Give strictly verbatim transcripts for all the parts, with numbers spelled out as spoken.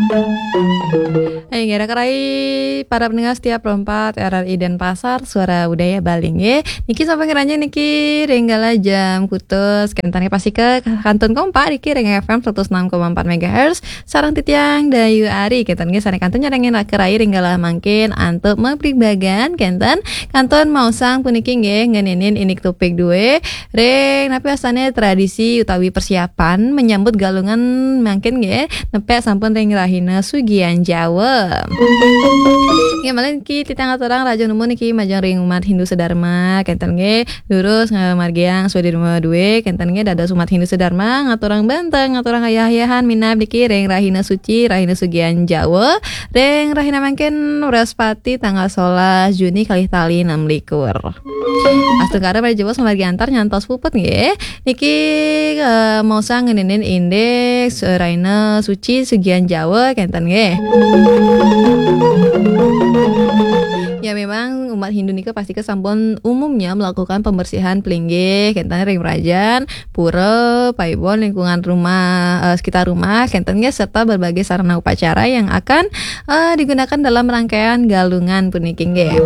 Hai, nggih, raka rai para pendengar setia Pro empat R R I Denpasar, Suara Budaya Bali, nggih. Niki sampun ngranjing niki ring galah jam kutus, kenten nggih, pastika kantun kompak niki ring F M seratus enam koma empat megahertz, sareng titiang Dayu Ari, kenten nggih, sane kantun nyarengin raka rai ring galah mangkin antuk mabebagan, kenten kantun maosang puniki nggih, ngeninin indik topik due, ring napi astane tradisi utawi persiapan menyambut Galungan mangkin nggih, nepek sampun ring rahina Sugian Jawa. Nggih, malih niki titiang aturang raja numun niki majeng ring umat Hindu sedharma, kenten nggih, durus ngamargiang swadharma due, kenten nggih, dados umat Hindu sedharma, ngaturang benteng, ngaturang ayah-ayahan minab niki ring rahina suci, rahina Sugian Jawa, ring rahina mangkin Wrespati tanggal solas Juni kalih tali enam likur. Astungkara malih jebos ngamargi antar nyantos puput nggih. Niki, eh, maosang ngeninin indik, eh, rahina suci Sugian Jawa, kenten nggih. Ya, memang umat Hindu nika pastika sampun umumnya melakukan pembersihan pelinggih, kenten ring mrajan, pura, paibon, lingkungan rumah, eh, sekitar rumah, kenten nggih, serta berbagai sarana upacara yang akan, eh, digunakan dalam rangkaian Galungan puniki nggih.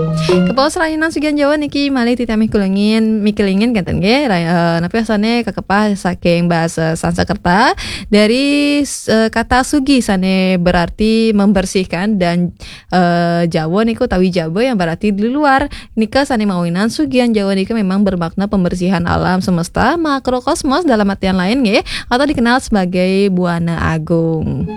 Kepaos rahina Sugian Jawa niki malih titiang mikulingin, mikulingin kenten nggih, ra-, eh, napi astane kakepah saking basa Sanskerta dari, eh, kata sugi sane berarti membersihkan dan, eh, Jawa niku utawi Jaba yang berarti di luar. Nika sane mawinan Sugian Jawa nika memang bermakna pembersihan alam semesta makrokosmos dalam artian lain nggih, atau dikenal sebagai Buana Agung.